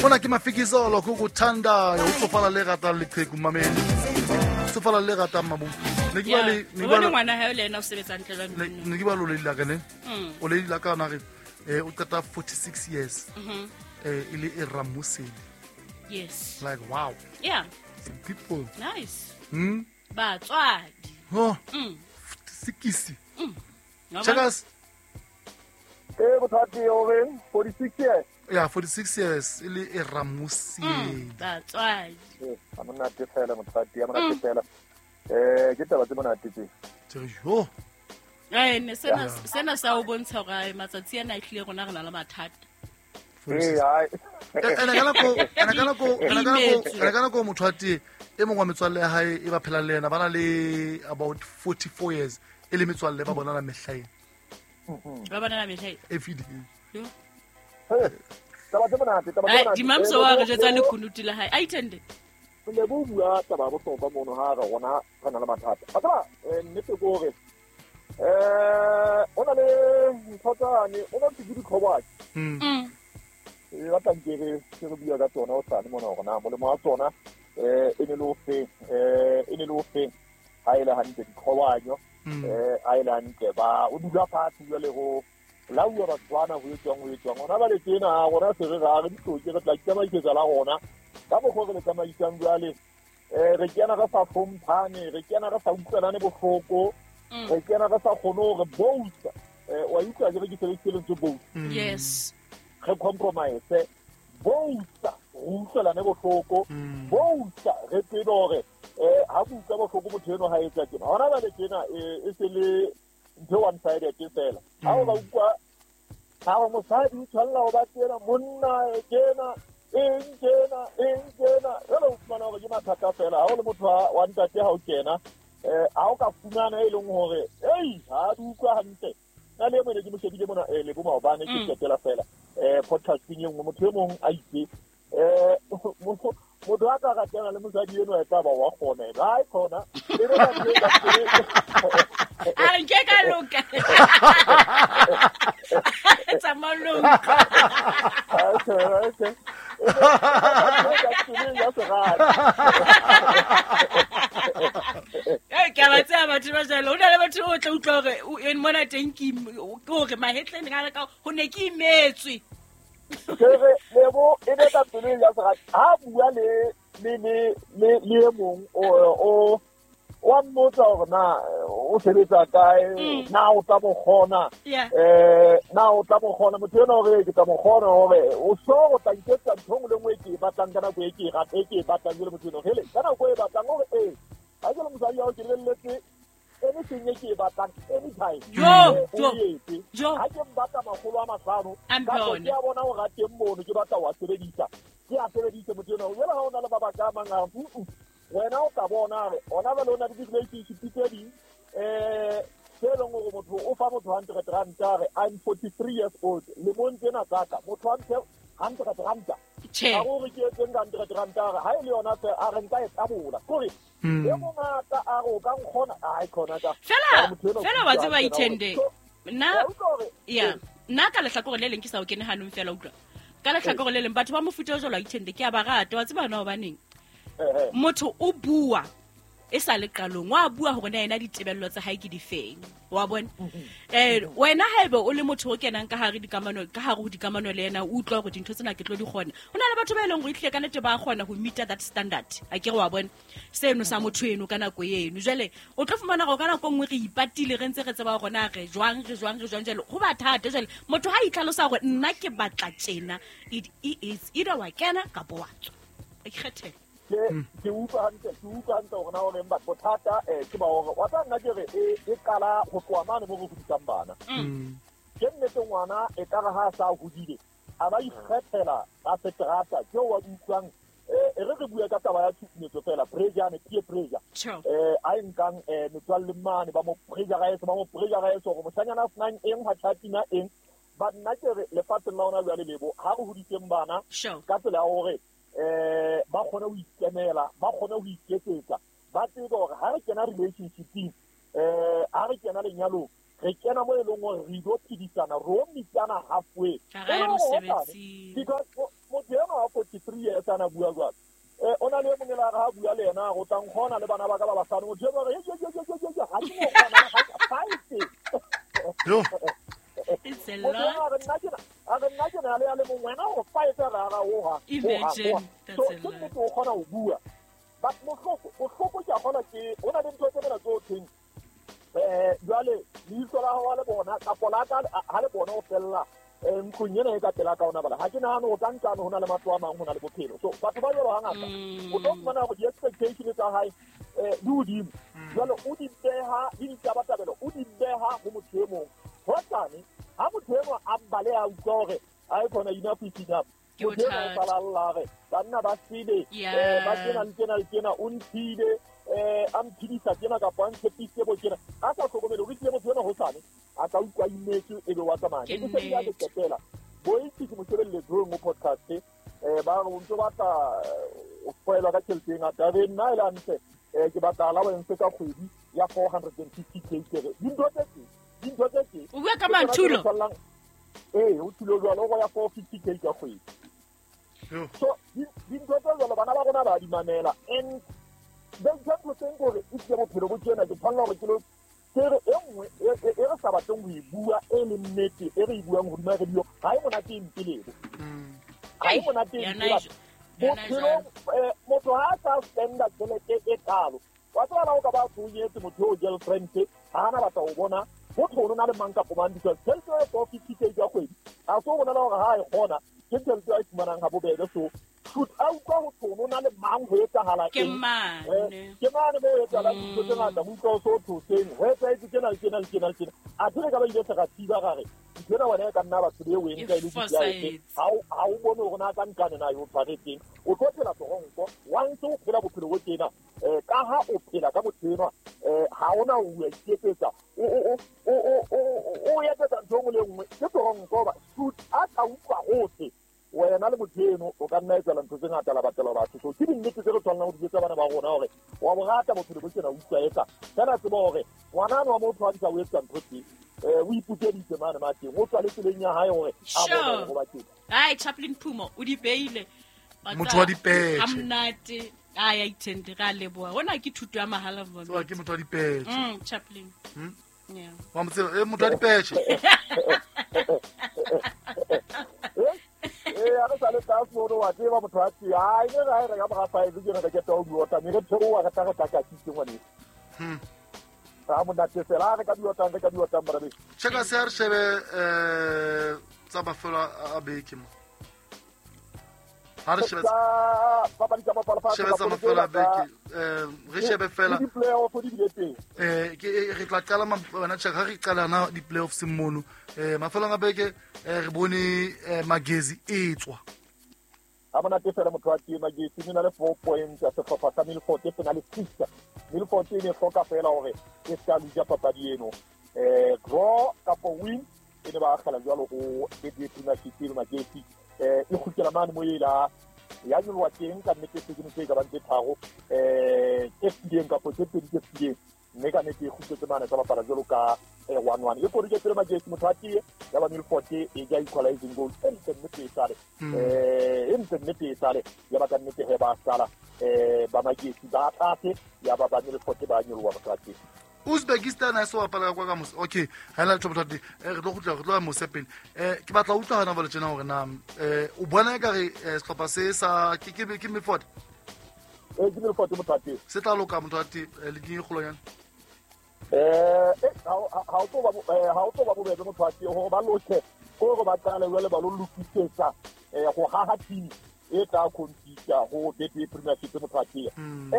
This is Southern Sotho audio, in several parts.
Mona ke Mafikizolo ko go thandayo o tsofala le ratang leqheku mamedi. Tsofala le ratang mabu. Ne ke ba le ne o ke ba bone le- ngwana hae le ena o sebetsa ntle jwang ne ke ba lo le la ka ne. O le la ka na re o qeta 46 years. E le e Ramuseli. Yes. Like wow. Yeah. Some people. Nice. Batswadi. Oh. Sikisi. Wa bona? Checkers. Bothati o reng 46 years. Yeah, 46 years e le e Ramuseli. Batswadi. A monate fela mothati, a monate fela. Ke taba tse monate tse. Tse yo. Ne sena sa o bontsha hore matsatsi ana a hlile rona re na le mathata. Ene ka nako motho a tee e mongwe wa metswalle ya hae e ba phelang le yena ba na le about 44 years e le metswalle ba bonana mehlaeng. Ba bonana mehlaeng. Every day. Taba tse monate, taba tse monate. Dimamso wa re jwetsa le kunutu la hae. A itende. Le bo bua taba ya bohlokwa mono ha re rona re na le mathata. A tseba nnete ke hore o na le ntho tsane, o na le dikhobatsi. E batlang ke re ke re bua ka tsona o sane mona hore na molemo wa tsona e ne le o feng, e ne le o feng ha e le hantle dikhobanyo, ha e le hantle ba o dula fatshe jwale go lauwa batho bana ho etswang hona ba le tjena rona se re ra re ditloke re tla itsamaisetsa la rona ka mokgwa re le tsamaisang jwale re kena re sa hlomphane, re kena re sa utlwanane bohloko, re kena re sa kgone hore both wa utlwa ke re ke sebedisitse lentswe both. Yes. Re compromise both re utlwelane bohloko, both re tsebe hore ha ke utlwa bohloko motho eno ha etsa tjena hona ba le tjena e se le ntho one sided fela. Ha o ba utlwa ha o mosadi o tshwanela ho ba tjena, monna tjena, eng tjena, eng tjena, jwale o fumana hore ke mathata fela. Ha o le motho wa ntate ha o kena ha o ka fumana e leng hore ei ha di utlwa hantle. Nna le e mong ne ke mo shebile mona le bo maobane ke qetela fela podcasting e nngwe motho e mong a itse motho a ka ratana le mosadi eno e tla ba wa kgona ena. Ha e kgona, e be ka teng ka teng. A nke ka loka. Tsamaya loka. Okay, okay. Ke a ba tseba batho ba jwalo. Ho na le batho o tla utlwa hore o eng mona teng ke hore mahetleng a ka ho ne ke imetswe. Ke re lebo e be ka pelo ya serati. Ha bua le le le le le e mong o wa mmotsa hore na o sebetsa kae, na o tla mo kgona, na o tla mo kgona. Motho ena hore ke tla mo kgona hore o so o tla iketsa ntho e nngwe le nngwe e ke e batlang ka nako e ke e ratang, e ke e batlang jwale motho ena. Hele, ka nako e batlang hore ee, ha ke le mosadi wa hao ke lebelletse anything e ke e batlang anytime. Jo, O jo, etse. jo. Ha ke mbatla makgolo a mahlano, A mphe kapa ona. ke a bona hore a teng mono, ke batla ho a sebedisa. Ke a sebedise motho ena. Jwale ha o na le mabaka a mang a re, wena o tla bona hore hona jwale o na le di-relationship tse ding, tse leng hore motho o fa motho hundred ranta a re, I'm 43 years old, lemong tsena tsa ka, motho a mphe hundred ranta. Tjhe. Ha o re ke etseng ka hundred ranta, a re, ha e le yona feela, a re nka e tabola. Ke hore, e mongata a re o ka nkgona, ai, khona ka. Fela, A re motho enwa o fela wa utlwa tseba hantle na hore ithende. so, Nna, wa utlwa hore, ya, nna ka lehlakore le leng ke sa o kene hanong fela, utlwa. Ka lehlakore le leng batho ba mofuta o jwalo a ithende ke a ba rata, wa tseba na hobaneng? Motho o bua e sa le qalong, wa bua hore na yena ditebello tsa hae ke difeng, wa bona? Wena haebe o le motho o kenang ka hare dikamano, ka hare ho dikamano le yena, o utlwa hore dintho tsena ke tlo di kgona. Ho na le batho ba e leng hore ehlile ka nnete ba kgona ho meet that standard, a ke re wa bona? Seno sa motho eno ka nako eno. Jwale o tlo fumana hore ka nako e nngwe re ipatile re ntse re tseba hore na re jwang, re jwang, re jwang. Jwale ho ba thata. Jwale motho ha itlhalosa hore nna ke batla tjena, it is either wa kena kapa wa tswa. Ikgethele. Ke utlwa hantle, ke utlwa hantle hore na o reng, but bothata, ke ba hore wa tseba nna ke re, e qala ho tloha mane mo re hodisang bana. Ke nnete ngwana e ka re ha a sa hodile, a ba ikgethela ka seterata, ke o wa di utlwang, e re re bue ka taba ya tshusumetso fela, pressure ne, peer pressure. A e nkang, metswalle mane, ba mo pressurize, ba mo pressurize hore moshanyana a senang eng, ha tjhatina eng. But nna ke re lefatsheng la hona jwale lebo, ha re hodiseng bana ka tsela ya hore ba kgone ho ikemela, ba kgone ho iketsetsa, ba tsebe hore ha re kena relationship-ing, ha re kena lenyalong, re kena mo e leng hore re ilo phedisana, re o meetana halfway. Ha re E le hore hosane, mosebetsing. because motho enwa wa 53 years ana bua jwalo. O na le mongwe la ga bua le yena go tlang gona le bana ba ka ba basadi motho e ba re ye ga ke mo kgona ga five. Yo. It's a lot. A re nna ke na le a le mongwe wena go five ra ga o ga. Imagine that's So a ke lot. nnete o kgona ho bua. But bohloko ke a kgona ke ho na le ntho tse mona tse thweng jwale leihlo la hao ha le bona kapo la ka ha le bona o fella ntlong ena e ka pela ka ona bala ha ke nahane ho ka ntlane ho na le matlo a mang ho na le bophelo. So batho ba jwalo hangata o tlo fumana hore di-expectation tsa hae di hodimo. Jwale o di beha le ditabatabelo o di beha ho motho e mong. Hosane ha motho enwa a bale a utlwa hore a e khona enough is enough. Ke Motho enwa o bothata. sala a lla re banna ba sele Yeah. ba tjena le tjena le tjena o ntshile a mphidisa tjena kapa a ntshepisitse bo tjena a sa hlokomele hore ehlile motho enwa hosane a ka utlwa imetswe ebe wa tsamaya. Ke Ne ke se ke nnete. qetela boitse ke mo shebelletseng ho podcast ba re o ntso batla o foelwa ka tjhelete e ngata re nna e le hantle ke batla allowance ka kgwedi ya 450K ke re dintho tse tje dintho tse tje O bua ka ke tsona tse Manthulo? re tshwallang. Ee, o thulo jwalo o ya 450K ka kgwedi. Yo. So dintho tse jwalo bana ba rona ba di mamela and ba ntho tse hore e tle bophelo bo tjena ke tshwanela hore ke lo ke re e nngwe e re sa batleng ho e bua e leng nnete e re e buang hodima radio ha e monate e mpe lebo. Ha e monate e Yona mpe batho. yona Bophelong motho ha a sa spenda tjhelete e kalo wa tseba la o ka ba tshwenyetse motho eo girlfriend ha ana batla ho bona motho o na le mang kapo mang because tjhelete e 450K ka kgwedi ha so bona hore ha e kgona ke tjhelete a e fumanang ha bobebe. So should a utlwa ho thwe o na le mang ho etsahala Ke eng? mane. Ke mane mo ho etsahalang dintho tse ngata ho utlwa o so thoseng ho etsahetse tjena le tjena le tjena le tjena. Athe re ka ba ile se ra thiba ra re ntho ena wena e ka nna batho be o e nka e le E kutlwa efe. fosahetse. Ha o bone hore na ka nkane na yo tshwaretseng o tlo phela toronko wa ntse o phela bophelo bo tjena ka ha o phela ka motho enwa ha ona o a iketsetsa o etsetsa ntho e nngwe le e nngwe ke toronko hoba shoot a ka utlwa hohle wena le motho eno o ka nna etsela ntho tse ngata la batela batho. So ke dinnete tse re tshwanelang ho di etsa bana ba rona hore wa bo rata bophelo bo tjena o utlwa eka fela tseba hore ngwana wa motho ha di sa o etsa ntho tse o ipukeditse mane mateng o tswa le tseleng ya hae hore a bone hore ho ba teng. Ai Chaplin Phumo o di beile. Motho wa dipetjhe. A monate. Ai a ithende ra leboha. Hona ke thuto ya mahala mo. Tseba ke motho wa dipetjhe. Chaplin. Yeah. Wa mo tseba motho wa dipetjhe. A re sa le tlase mono wa tseba motho wa tee. Ai ne ra re ka mora five ke re ke tlo diota mme re theoha re tla re tla ka kitse ngwaneso. Ha monate fela re ka diotang re ka diotang bra beso. Cheka se re shebe tsa mafelo a beke mo. Ha re shebe papadi tsa mafelo a shebe tsa mafelo a beke re shebe fela di playoff di bile teng. Ke re tla qala wena check ha re qala na di playoffs mono. Mafelong a beke re bone Magezi e tswa. Ha monate fela motho wa tee Magezi ne na le 4 points ya sehlopha sa Milford se na le 6. Milford e ne hloka fela hore e ska luja papadi eno. Draw kapo win e ne ba akgela jwalo ho Betway Premiership le Magezi. E kgutlela mane mo ela ya nyoloha teng ka nnete se ke ntse ka bang tse tharo tse fetileng kapo tse pedi tse fetileng mme ka nnete e kgutletse mane tsa bapala jwalo ka 1-1 e kodike tsele Magezi motho wa tee ya ba Milford e ja equalizing goal e ntle nnete e sale e ntle nnete e sale ya ba ka nnete he ba sala ba Magezi ba tlase ya ba ba Milford ba nyoloha motho wa tee. Uzbekistan ha se bapala kwa ka mose. Okay, ha ena letho motho wa teng. Re tlo kgutla re tlo ya mose pele. Ke batla ho utlwa hana jwale tjena hore na o bona ekare sehlopha se sa ke Milford? Ke Milford motho wa teng. Se tla loka motho wa teng league e kgolonyana. Ha o tlo ba bobebe motho wa teng hore ba loke hore ba qale jwale ba lo lokisetsa ho haha team e tla compete ho Betway Premiership motho wa teng.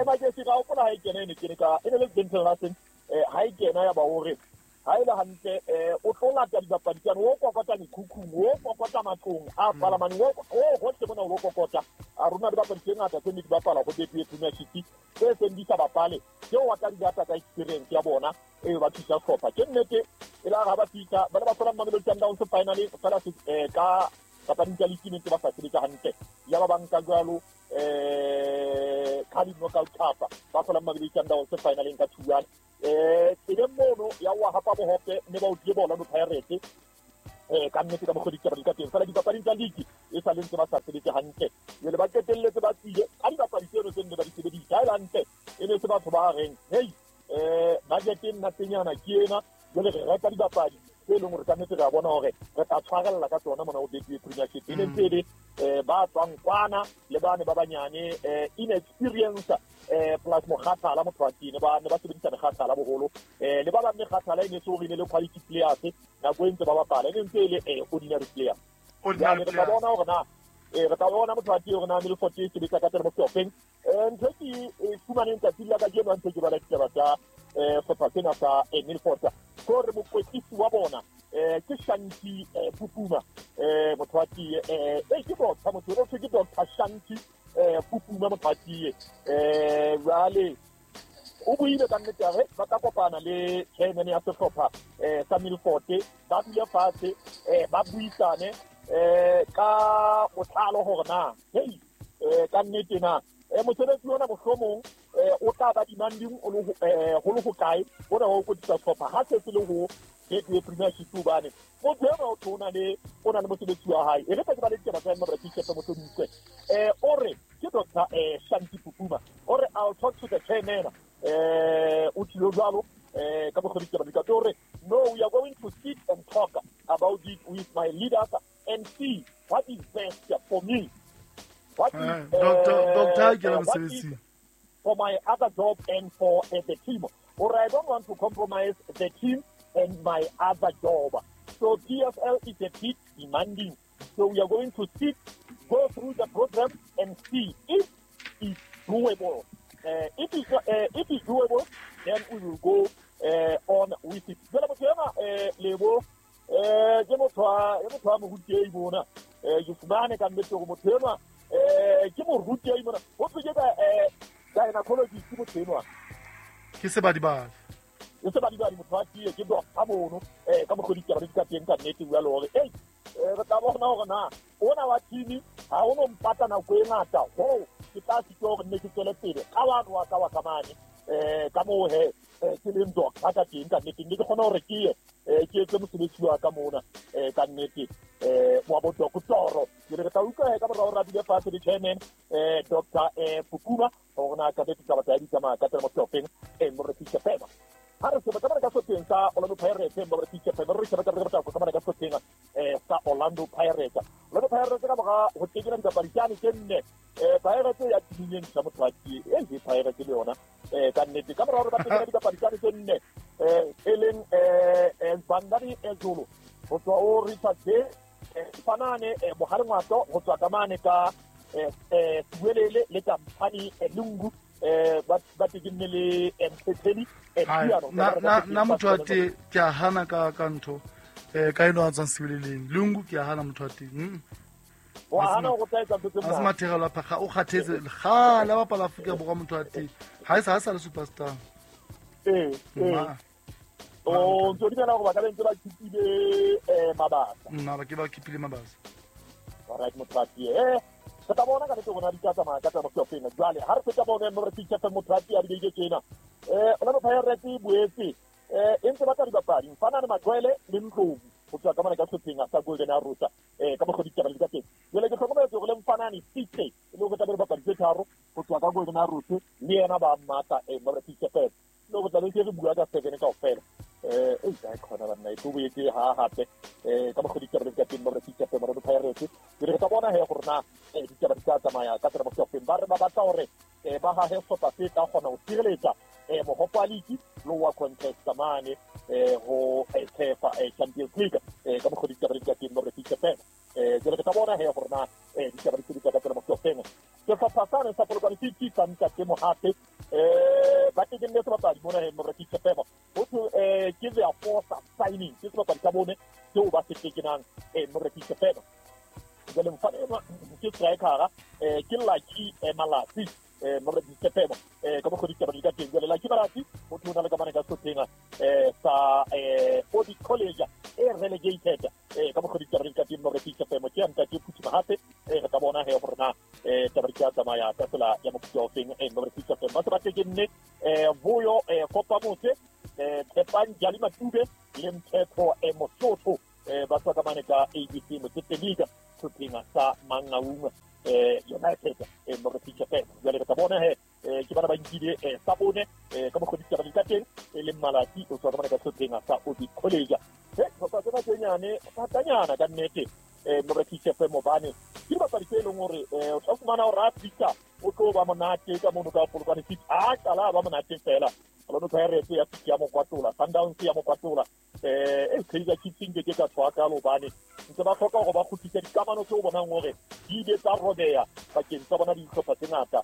Magezi ka hopola ha e kena e ne kene ka e ne le Dental Larsen ha e kena ya ba hore ha e le hantle o tlo lata dibapadi tsane o kokota mekhukhung o kokota matlong a palamane o hohle mona o kokota a rona dibapadi tse ngata tse ne di bapala ho Betway Premiership tse seng di sa bapale tseo wa tla di lata ka experience ya bona e ba thusa hlopha. Ke nnete e la ha ba fihla ba ne ba hlola Mamelodi Sundowns finally fela ka papading tsa league ne ntse ba sa sebetsa hantle ya ba banka jwalo Carling Knockout Cup ba hlola Mamelodi Sundowns finaleng ka 2-1. Tseleng mono ya wa hapa bohope mme ba utlwe bona no Pirates ka nnete ka mokgwa ditaba di ka teng fela dipapading tsa league e e sa le ntse ba sa sebetse hantle. Jwale ba qetelletse ba tswile ka dibapadi tseno tse nne ba di sebedisa. Ha e le hantle e ne se batho ba reng hey budget e nna tenyana ke ena, jwale re reka dibapadi tse leng hore ka nnete re a bona hore re tla tshwarella ka tsona mona ho Betway Premiership. E ne ntse e le ba tswang kwana le bane ba banyane inexperience plus mokgathala motho wa teng ba ne ba sebedisa mekgathala boholo le ba bang mekgathala e ne se hore e ne le quality players nako e ntse ba bapala e ne ntse e le ordinary player. Ordinary Jwale re tla players. bona hore na re tla bona motho wa teng hore na Milford e sebetsa ka tsela mofeng. Ntho e ke e fumaneng tsatsing la kajeno ha ntse ke bala ditaba tsa sehlopha sena sa Milford, ke hore mokwetlisi wa bona ke Shanti Pupuma motho wa tee ke doctor motho o thwe ke Doctor Shanti Pupuma motho wa tee jwale o buile ka nnete hore ba tla kopana le chairman ya sehlopha sa Milford, ba dule fatshe ba buisane ka botlalo hore na hey ka nnete na mosebetsi ona mohlomong o tla ba demanding o le ho le hokae ona wa ho kwetlisa sehlopha ha se se le ho Betway Premiership, hobane motho enwa o tho o na le mosebetsi wa hae. E re ke ba le ditaba tsa Mabra Tshepe Mohlodikwe o re ke Dr. Shanti Pupuma o re I'll talk to the chairman o tlilo jwalo ka mokgwa ditaba di ka teng, o re no, we are going to sit and talk about it with my leaders and see what is best for me. What is, Doctor ke la what is mosebetsing. for my other job and for the team. Or I don't want to compromise the team and my other job. So PSL is a bit demanding. So we are going to sit, go through the program and see if it's doable. If it's doable, then we will go on with it. Jwale motho enwa Lebo ke motho wa morutehi mona. Ke fumane ka nnete hore motho enwa ke morutehi mona. Ho thwe ke ka gynecologist motho enwa. Ke sebadibadi. E sebadibadi motho wa tee ke doctor mono ka mokgwa ditaba di ka teng ka nnete jwale hore ei re tla bona hore na ona wa team ha o no mpata nako e ngata ho ke tla sitwa hore nne ke tswele pele ka wa wa ka wa ka mane ka moo he ke leng doctor ka teng ka nnete mme ke kgone hore ke ye ke etse mosebetsi wa ka mona ka nnete wa bo doctor. Ke re tla utlwa he ka morao ra dule fatshe le chairman Dr. Pukuma hore na ka nnete taba tsa di tsamaya ka tsela mohlopeng Moreki Tshepema. Ha re se ba ka sehlopheng sa Orlando Pirates Moreki Tshepema re sheba ka re ka ka sehlopheng sa Orlando Pirates. Orlando Pirates ka mora ho tekela dipapadi tsane tse nne Pirates ya timeng sa motho wa tee e Pirates le yona ka nnete ka mora hore ba tekela dipapadi tsane tse nne e leng Bandari Ezulu ho tswa o Richard Bay Fanane Mohale Ngwato ho tswa ka mane ka Siwelele le Kampani Lungu ba tekenne le Mthetheli na motho wa tee ke a hana ka ntho ka eno a tswang Siweleleng Lungu ke a hana motho wa teng. Wa hana go tla etsa ntho tse monate. A se mathegelo a phakga o kgathetse kgale a bapala Afrika Borwa motho wa teng ha e sa le superstar. O ntse o dumela hore ba ka be ntse ba keepile Mabasa. Nna ke ba keepile Mabasa. Alright motho wa tee re tla bona ka nnete hore na di tla tsamaya ka tsela mohlopeng. Jwale ha re feta bona Moreki Tshepe motho wa tee a dibeke tsena Orlando Pirates e boetse e ntse batla dibapadi Mfanane Makwele le Ndlovu ho tswa ka mane ka sehlopheng sa Golden Arrows ka mokgwa ditaba di ka teng. Jwale ke hlokometse hore le Mfanane Sitse e le hore tla be le bapadi tse tharo ho tswa ka Golden Arrows le yena ba mmatla Moreki Tshepe le hore tla be ke re bua ka seven kaofela e ka khona banna e tlo boetse ha hape ka mokgwa ditaba di ka teng Moreki Tshepe Orlando Pirates. Ke re tla bona he hore na ditaba di tla tsamaya ka tsela mohlopeng. Ba re ba batla hore ba hahe sehlopha se tla kgona ho sireletsa mohope wa league le wa contest mane ho CAF Champions League ka mokgwa ditaba di ka teng Moreki Tshepe. Jwale re tla bona he hore na ditaba di sebetsa ka tsela mohlopeng. Sehlopha sane sa Polokwane City sa Ntate Mohape ba tekenne sebapadi mona he Moreki Tshepe ho thwe ke their fourth signing ke sebapadi sa bone seo ba se tekenang Moreki Tshepe. Jwale mfana enwa ke striker ke Lucky Malatsi Moreki Tshepe ka mokgwa ditaba di ka teng. Jwale Lucky Malatsi o thwe o na le kamane ka sehlopheng sa Audit College e relegated ka mokgwa ditaba di ka teng Moreki Tshepe ke ya Ntate Phuthi Mohape. Re tla bona he hore na taba di tla tsamaya ka tsela ya mofuta o feng Moreki Tshepe. Ba se ba tekenne Vuyo Kopamose Tshepang Jali Matube le Mthetho Mosotho ba tswa ka mane ka ABC Motsepe League sehlopheng sa United Morefisha FM. Jwale re tla bona he ke bana ba nkile sa bone ka mokgwa ditaba di ka teng e leng Malatsi o tswa ka mane ka sehlopheng sa Orbit College. Hlopha tsena tse nyane thatanyana ka nnete Morefisha FM, hobane ke dibapadi tse leng hore o tla fumana hore a fihla o tlo ba monate ka mono ka Polokwane City, a qala ba monate fela. Orlando Pirates ya fihla ya mo kwatola, Sundowns ya mo kwatola, Kaizer Chiefs nke ke ka tshwa kalo hobane ntse ba hloka hore ba kgutlise dikamano tseo bonang hore di ile tsa robeha pakeng tsa bona dihlopha tse ngata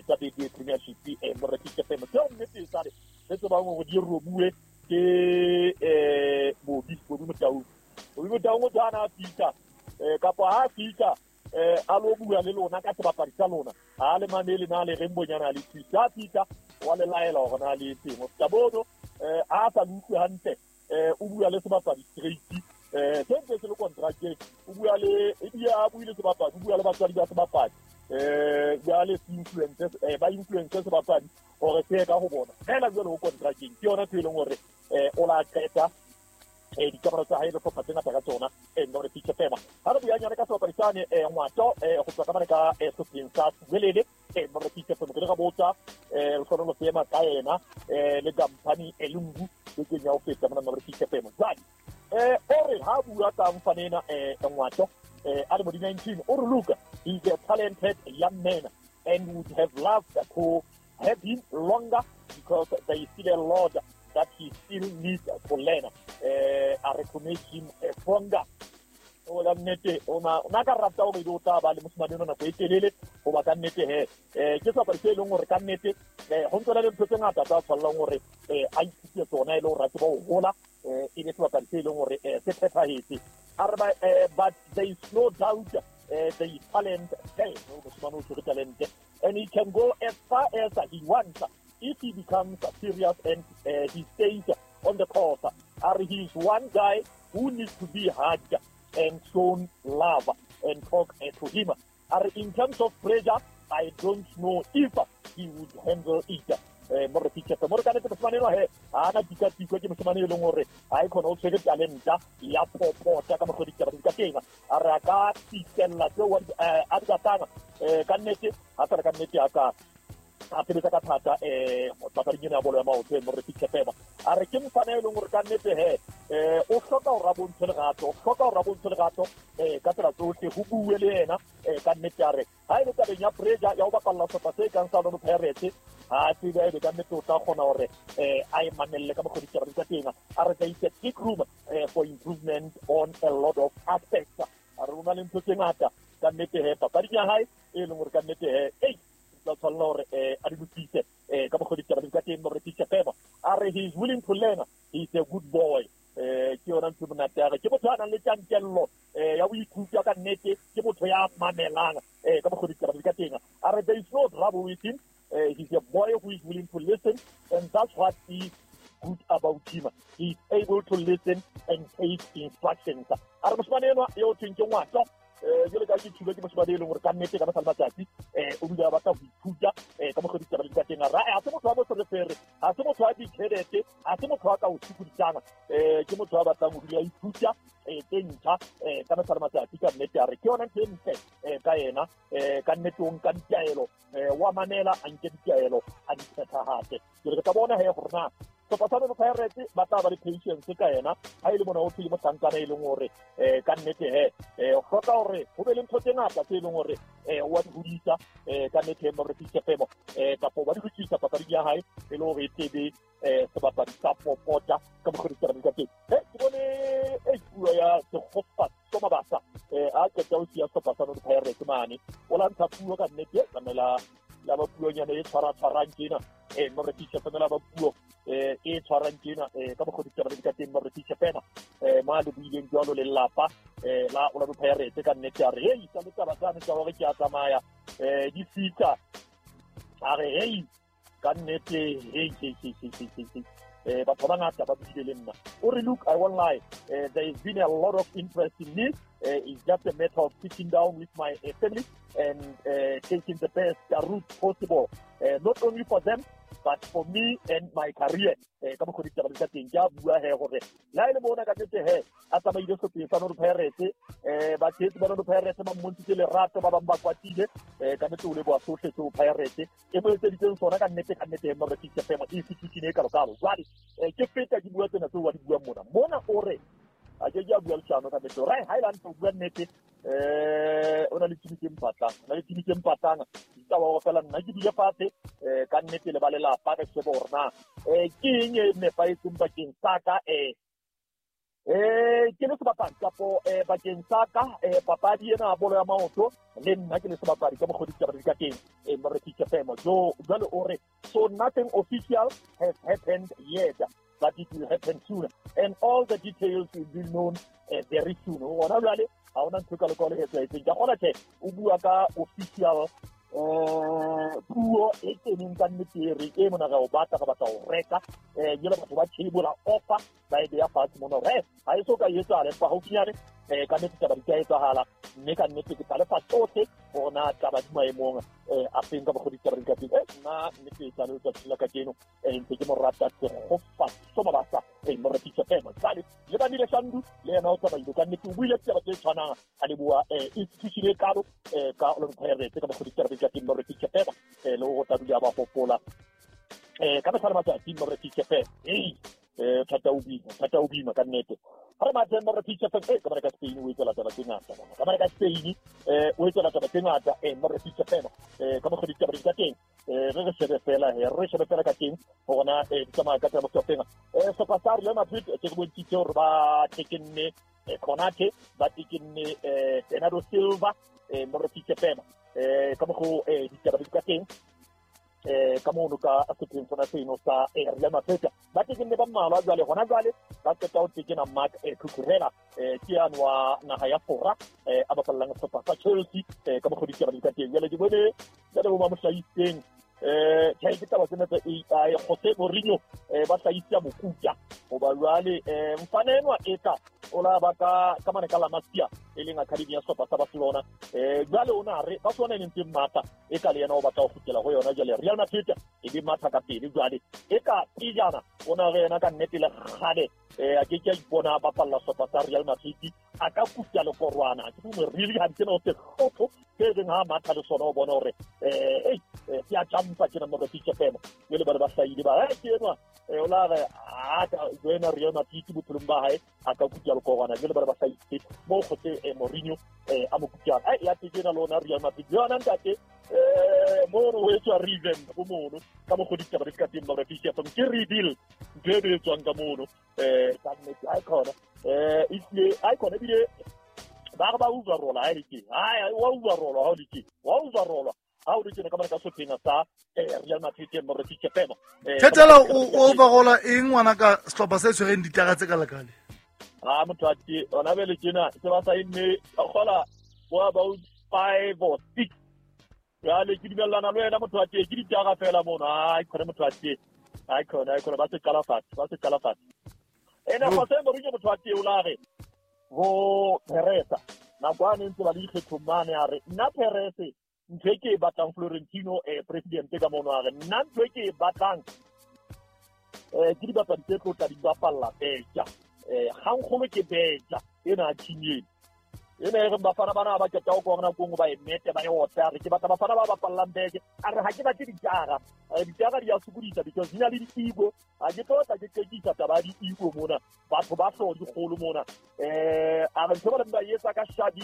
tsa Betway Premiership Morefisha FM. Tseo nnete e sale re tsebang hore di robuwe ke Bobi Motaung. Bobi Motaung o tshwana a fihla kapa ha fihla a lo bua le lona ka sebapadi sa lona, ha le mamele na le reng bonyana le thusa, a fihla wa le laela hore na le etseng. Ho feta bono a sa le utlwe hantle, o bua le sebapadi straight, se ntse se le contracteng, o bua le ebile a buile sebapadi, o bua le batswadi ba sebapadi, jwale se influence ba influence sebapadi hore se ye ka ho bona fela jwale ho contracteng. Ke yona ntho e leng hore o la qeta dikamano tsa hae le hlopha tse ngata ka tsona Morefisha FM. Ha re buanyana ka sebapadi sane Ngwato go tswa ka mane ka sehlopheng sa Siwelele Morefisha FM, re ka botsa re kgone ho seema ka yena le company Lungu bekeng ya ho feta mona Morefisha FM. Jwale o re ha bua ka mfana ena Ngwato a le mo di-19, o re look, he's a talented young man and would have loved to have him longer because there is still a lot that he still needs to learn. A re to make him stronger. O ka nnete o na ka rata hore o tla ba le mosimane ona nako e telele, hoba ka nnete he ke sebapadi se e leng hore ka nnete ho ntse le ntho tse ngata tsa tshwanelang hore a ithute tsona e le hore a tseba ho hola, e be sebapadi se e leng hore se phethahetse. A re but there is no doubt there is talent there. Mosimane o tshwere talente and he can go as far as he wants if he becomes serious and he stays on the course. He is one guy who needs to be hugged and shown love and talk to him. In terms of pressure, I don't know if he would handle it. Morefisha FM. More ka nnete mosimane enwa he ha ana tikatiko, ke mosimane e leng hore ha e khona o tshwere talenta ya popota ka mokgwa ditaba di ka teng. A re a ka fihlella tseo a di batlang ka nnete, ha fela ka nnete a ka a sebetsa ka thata papading ena ya bolo ya maoto Morefisha FM. A re ke mofana e leng hore ka nnete he o hloka hore a bontshe lerato, o hloka hore a bontshe lerato ka tsela tsohle, ho bue le yena ka nnete. A re ha e le tabeng ya pressure ya ho bapalla sehlopha se kang sa Orlando Pirates, ha tsebe ebe ka nnete o tla kgona hore a e mamelle ka mokgwa ditaba di ka teng. A re there is a big room for improvement on a lot of aspects. A re o na le ntho tse ngata ka nnete he papading ya hae e leng hore ka nnete he tla tshwanela hore a di lokise ka mokgwa ditaba di ka teng Morefisha FM. A re he is willing to learn, he is a good boy. Ke yona ntho monate. A re ke motho a nang le tjantjello ya ho ithuta ka nnete, ke motho ya mamelang ka mokgwa ditaba di ka teng. A re there is no trouble with him, he's a boy who is willing to listen, and that's what is good about him. He is able to listen and take instructions. A re moshimane enwa eo thweng ke Ngwato, jwale ka ke thulwe ke mosimane e leng hore ka nnete ka mehla le matsatsi o dula a batla ho ithuta ka mokgwa ditaba di ka teng. Ha se motho wa moferefere, ha se motho wa ditjhelete, ha se motho wa ka o sokodisang, ke motho wa batlang ho dula a ithuta tse ntjha ka mehla le matsatsi ka nnete. A re ke yona ntho e ntle ka yena ka nnete, o nka ditaelo, wa mamela, a nke ditaelo a di phethahatse. Ke re ka bona he hore na sehlopha sa Orlando Pirates ba tla ba le patience ka yena ha e le mona o thwe mohlankana e leng hore ka nnete he o hloka hore ho be le ntho tse ngata tse leng hore wa di hodisa ka nnete Morefisha FM, kapo ba di lokisa papading ya hae e le hore e tlebe sebapadi sa popota ka mokgwa ditaba di ka teng. Ke bone e puo ya Sekgopa Mabasa a qeta ho siya sehlopha sa Orlando Pirates mane, o la ntsha puo ka nnete, tlamela la ba puonyana e tshwara-tshwarang tjena Morefisha FM, la ba puo e tshwarang tjena ka mokgwa ditaba di ka teng Morefisha FM, mo le buileng jwalo le lelapa la Orlando Pirates ka nnete. A re hei sa le taba tsane tsa hore ke a tsamaya di fihla, a re hei ka nnete hei batho ba bangata ba buile le nna. O re look, I won't lie, there has been a lot of interest in me. It's just a matter of sitting down with my family and taking the best route possible, not only for them, but for me and my career. Ka mokgwa ditaba di ka teng, ke a bua he gore la e le bona ka nnete he a tsamaile sehlopeng sa Orlando Pirates, batshehetsi ba Orlando Pirates ba mmontshitse lerato, ba bang ba kwatile, ka nnete o leboha sohle seo Pirates e mo etseditseng sona ka nnete, ka nnete Morefisa FM institution e kalokalo. Jwale ke feta ke bua tsena tseo wa di buang mona mona, o re a ke ke a bua leshano ka nnete, right? Ha e le hantle o bua nnete, o na le team tse mpatlang, o na le team tse mpatlang. Ditaba hore fela nna ke dule fatshe, ka nnete le ba lelapa, ka shebe hore na ke eng e nepahetseng bakeng sa ka, ke le sebapadi kapo bakeng sa ka papadi ena ya bolo ya maoto, le nna ke le sebapadi ka mokgwa ditaba di ka teng, Morefisa FM. Jo jwale o re so nothing official has happened yet, but it will happen soon and all the details will be known very soon. Hona jwale ha hona ntho e kalo-kalo e etsahetseng. Ke a kgona tjhe o bua ka official puo e keneng ka nnete, e re e mona re o batla, re batla ho reka, jwale batho ba table offer ba e beya fatshe mona hore ha e so ka e etsahala, empa haufinyane ka nnete taba di ka etsahala, mme ka nnete ke tla lefa tsohle hore na taba di maemong a feng ka mokgwa ditaba di ka teng. Nna nnete e sale letsatsing la kajeno, ntse ke mo rata Tshegofatso Mabasa, Morefisa FM. Jwale le Bandile Shandu le yena o tsamaile ka nnete, o buile ditaba tse tshwanang, a leboha institution e kalo ka Orlando Pirates ka mokgwa ditaba di ka teng, Morefisa FM, le ho tla dula ba hopola ka mehla le matsatsi, Morefisa FM. Thata o bima, thata o bima ka nnete. Ha re mathe Morefisa FM, ka mara ka Spain o etsa taba tse ngata mona. Ka mara ka Spain o etsa taba tse ngata, Morefisa FM, ka mokgwa ditaba di ka teng. Re shebe fela he, re shebe fela ka teng hore na di tsamaya ka tsela mofuta o feng. Sehlopha sa Real Madrid ke re bontshitse hore ba tekenne Konate, ba tekenne Bernardo Silva, Morefisa FM, ka mokgwa ditaba di ka teng. Ka mono ka sehlopeng sona seno sa Real Madrid ba tekenne ba mmalwa jwale, hona jwale ba qeta ho tekena Marc Cucurella, ke yane wa naha ya Fora, a bapallang sehlopha sa Chelsea, ka mokgwa ditaba di ka teng. Jwale ke bone jwale bo ba mo hlahisitseng, tjhe ke taba tsena tsa AI, Jose Mourinho, ba hlahisa mokuta hoba jwale mfana enwa eka o la ba ka mane ka La Masia, e leng academy ya sehlopha sa Barcelona, jwale o na re Barcelona e leng teng matha e ka le yena o batla ho kgutlela ho yona. Jwale Real Madrid e be matha ka pele jwale e ka pejana o na re yena ka nnete le kgale, a ke ke a ipona a bapalla sehlopha sa Real Madrid, a ka kuta lekorwana ke mo really ha ke no se hlotho se reng ha matha le sona o bona hore ke a jumpa ke na Morefisa FM. Jwale ba le ba hlahile ba ke enwa, o la re a ka joina Real Madrid bophelong ba hae a ka kuta lekorwana. Jwale ba le ba hlahile mo Jose Mourinho a mo kutang, ya tekena lona Real Madrid yona ntate, mono ho etswa revamp bo mono ka mokgwa ditaba di ka teng, Morefisa FM ke rebuild ntho e etswang ka mono, ka nnete ha e khona, ehlile ha e khona ebile ba re ba overrola ha e le teng, wa overrola ha o le teng, wa overrola ha o le teng ka mane ka sehlopeng sa Real Madrid, Morefisa FM. Thethela o overrola eng ngwana ka sehlopha se tshwereng ditara tse kalekale? Ha motho a tje ona bele tjena se ba sa enne kgola bo about 5 or 6. Jwale ke dumellana le wena motho a tje, ke ditara fela mono. Ai khona motho a tje, ai khona, ai khona ba se qala fatshe, ba se qala fatshe. Ena Jose Mourinho motho a tje o la re ho Perez nako a ne ntse ba le dikgethong mane, a re nna Perez ntho e ke e batlang Florentino president ka mono, a re nna ntho e ke e batlang ke dibapadi tse tlo tla di bapalla beja, kgangkgolo ke beja ena a team ena ena e reng bafana bana ba qeta ho kora nakong ba e mete ba e otla, a re ke batla bafana ba bapallang beke, a re ha ke batle ditara, ditara di a sokodisa because di na le di-ego, ha ke tlo tla ke qekisa taba ya di-ego mona, batho ba hlooho di kgolo mona, a re ntho ba leng ba e etsa ka Xabi,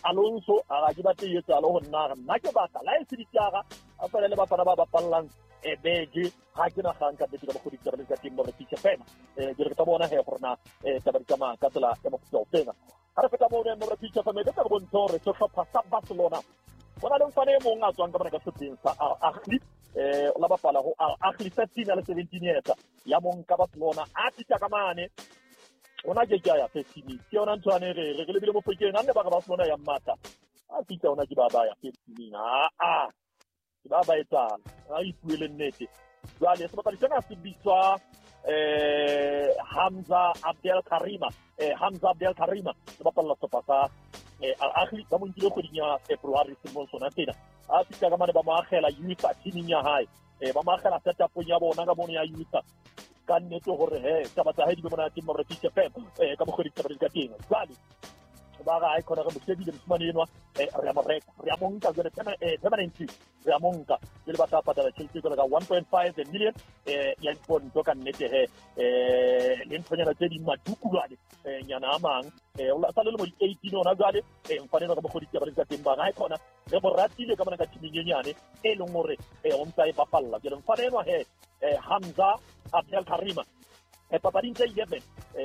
Alonso, a re ha ke batle e etsahale ho nna, a re nna ke batla la e se ditara, a fela le bafana ba bapallang beke, ha ke na kgang ka nnete ka mokgwa ditaba di ka teng, Morefisa FM. Ke re ke tla bona he gore na taba di tsamaya ka tsela ya mofuta o feng. Ha re feta mono Morefisa FM, ke tla re bontshe hore sehlopha sa Barcelona ho na le mfana e mong a tswang ka mona ka sehlopheng sa Al Ahly, o la bapala ho Al Ahly 13 a le 17 years ya mong ka Barcelona, a fihla ka mane ona ke ke a ya first team, ke yona ntho ane re re lebile Mofokeng, a nne ba re Barcelona ya mmatla, a fihla ona ke ba ba ya first team, a ke ba ba etsala, a ipuele nnete. Jwale sebapadi sena se bitswa Hamza Abdel Karima, Hamza Abdel Karima le bapalla sehlopha sa Al Ahly ba mo nkile kgweding ya February selemong sona sena. A fihla ka mane ba mo akgela youth teaming ya hae, ba mo akgela setupong ya bona ka mono ya youth. Ka nnete hore he taba tsa hae di be monate mo Refit FM ka mokgwa ditaba di ka teng. Jwale ba ga e khona re mo shebile mosimane enwa, re a mo reka, re a mo nka jwale permanently, re a mo nka jwale ba tla patala tjhelete jwalo ka 1.5 million ya diponto ka nnete he, le nthonyana tse ding madukulwane nyana a mang, o sa le lemo di 18 ona jwale. Mfane enwa ka mokgwa ditaba di ka teng, ba ga e khona re mo ratile ka mona ka teaming e nyane e leng hore o ntsa e bapalla. Jwale mfane enwa he, Hamza Abdel Karima, papading tse 11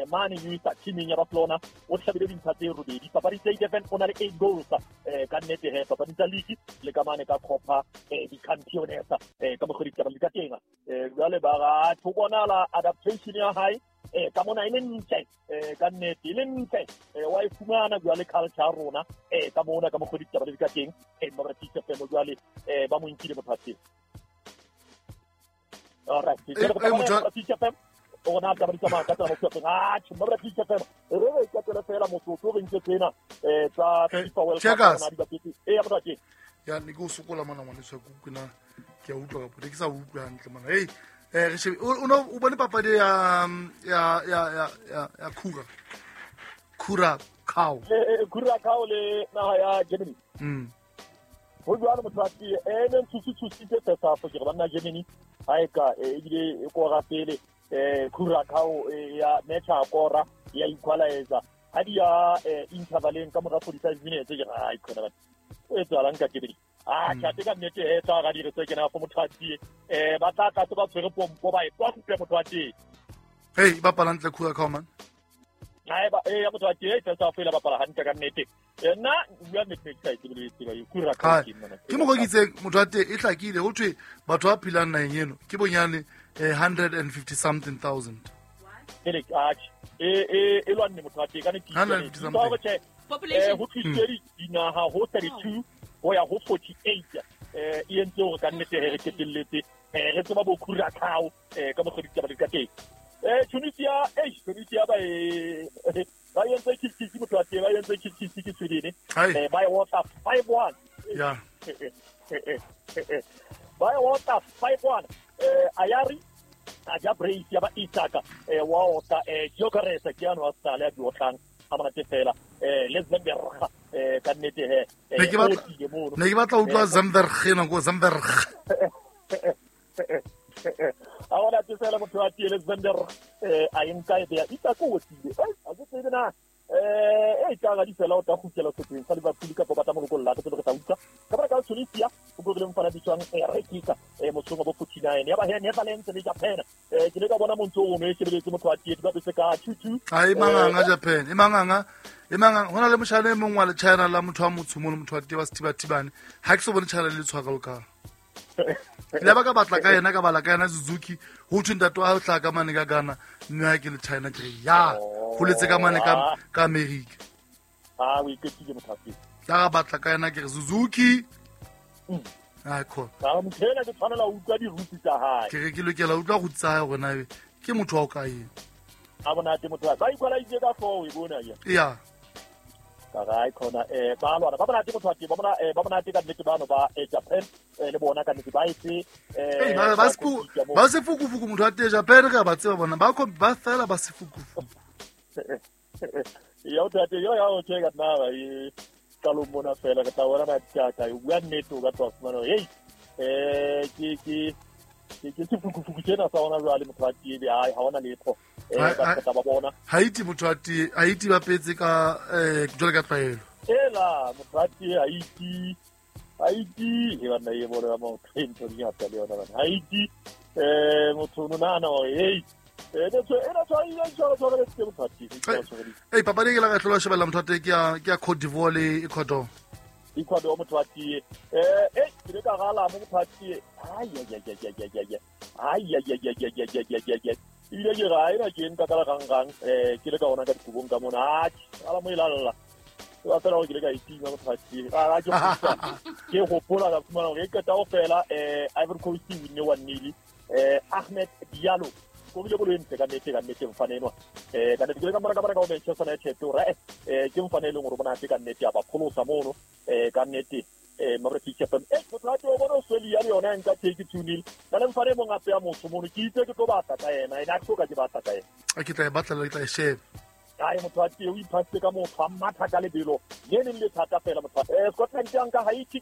mane youth teaming ya Barcelona o hlabile dintlha tse robedi. Papading tse 11 o na le 8 goals ka nnete he, papading tsa league le ka mane ka Copa di-Campeones ka mokgwa ditaba di ka teng. Jwale ba ga ho bonahala adaptation ya hae ka mona e le ntle, ka nnete e le ntle, wa e fumana jwale culture ya rona ka mona ka mokgwa ditaba di ka teng. Mabratisa FM jwale ba mo nkile motho wa teng. All right, Mabratisa FM o na taba di tsamaya ka tsela motho wa teng. Atjhe, Mabratisa FM re re ikatele fela motsotso re ntse tsena tsa FIFA World Cup Checkers. rona di bapetse. Ya motho wa teng. Ya ne ke o sokola mona ngwaneso, ke utlwe na ke a utlwa kapo ke sa utlwe hantle mona. Hey, re shebe o no o bone papadi ya ya ya ya ya ya Kura Curacao. Curacao le naha ya Germany. Ho jwalo motho wa teng, ne ntshusitshusitse first half ke re banna Germany ha e ka ebile e kora pele, Curacao ya match a kora ya equalizer ha di ya intervaleng ka mora 45 minutes ke re ai khona batho o etsahalang ka Germany. Tjhate ka nnete he tsa ga dire tse kena go motho wa teng, ba tla tla ba tshwere pompo ba e pompe motho wa teng. Hey, ba bapala hantle Curacao man. Hae ba ya motho wa teng first half ela bapala hantle ka nnete. Nna bua nnete ke sa itse le tseba e Curacao ke nna. Ke mo go motho wa teng e hlakile ho thwe batho ba phelang naheng eno ke bonyane 150 something thousand. Ele atjhe e lwanne motho wa teng ka ne ke 150 something. Population ho tlisitse dinaha ho 32 ho ya ho 48 e entse hore ka nnete he re qetelletse re tseba bo Curacao ka mokgwa ditaba di ka teng. Tunisia, Tunisia ba ba entse kick motho wa teng, ba entse kick ke Sweden, ba e otla 5-1. Ya. Ba e otla 5-1. Ayari a ja brace ya ba Isaka, wa otla Gyökeres ke ano a sale a di otlang ha monate fela, le Zemberg ka nnete he Ne ke batla utlwa Zemberg ena ko Zemberg. A ona te fela motho wa teng le Zemberg a e nka e beya Isaka o otlile. A ke tsebe na e ka ga di fela o tla kgutlela setlheng sa Liverpool kapa ba tla mo lokolla ke tsebe re tla utlwa. Ka baka la Tunisia o go rileng fana bitswang Rekika motsong wa bo 49 ya ba he Netherlands le Japan. Ke le ka bona montso o no e shebeletse motho wa teng ba betse ka 2-2. Ha e manganga Japan, e manganga hona le moshana e mong wa le China la motho wa motsho mono motho wa teng wa Sethibathibane. Ha ke so bone China le tshwara lokang. Le ba ka batla ka yena ka bala ka yena Suzuki ho thwe ntate wa hae o hlaha ka mane ka Ghana mme ha ke le China ke re ya holetse ka mane ka America. O iketsile motho wa teng. Tla batla ka yena ke re Suzuki. Ai khona. Motho ena ke tshwanela ho utlwa di-roots tsa hae. Ke re ke lokela ho utlwa roots tsa hae hore na ke motho wa o kae. A monate motho wa ba equalize ka 4 e bona ya. Ya. Ka ga e khona ba lwana ba monate motho wa teng, ba bona ba monate ka nnete bano ba Japan le bona ka nnete ba etse ba se fukufuku motho wa teng Japan re ba tseba bona ba ba fela ba se fukufuku. Ya o tate yo ya o tshega nna ba e qalong mona fela re tla bona na tjaka o bua nnete o ka tla fumana hey ke sefukufuku tsena sa ona jwale motho wa teng ai ha ona letho ba tla ba bona Haiti motho wa teng Haiti ba petse ka jwale ka tlwaelo ela motho wa teng Haiti e banna e bolo ya motho e ntho di ngata le yona bana Haiti motho o nahana hore hey Hey papadi ke la ka hlola shebella motho wa teng ke ya Cote d'Ivoire le Ecuador. Ecuador motho wa teng ke le ka gala mo motho wa teng ai ai ai ai ai ai ai ai ai ai ai ai ai ebile ke ga ena ke nka ka la gangang ke le ka ona ka dikobong ka mona atjhe ala mo ilalla ba fela hore ke le ka itima motho wa teng a ke ke hopola ka fumana hore e qeta ho fela Ivory Coast e winne 1-0 Ahmed Diallo Skorile bolo e ntle ka nnete, ka nnete mfane enwa. Ka nnete ke le ka mora ka bona ka ho Manchester United hore ke mfane e leng hore monate ka nnete, a ba pholosa mono ka nnete. Mabra FM. Motho wa teng o bona Australia le yona e nka take 2-0. Na le mfane e mong hape ya motho mono, ke itse ke tlo batla ka yena, ene ha ke soka ke batla ka yena. A ke tla e batla, ke tla e sheba. Ai, motho wa teng o iphasitse ka motho a matha ka lebelo le neng le thata fela motho. Scotland ya nka Haiti.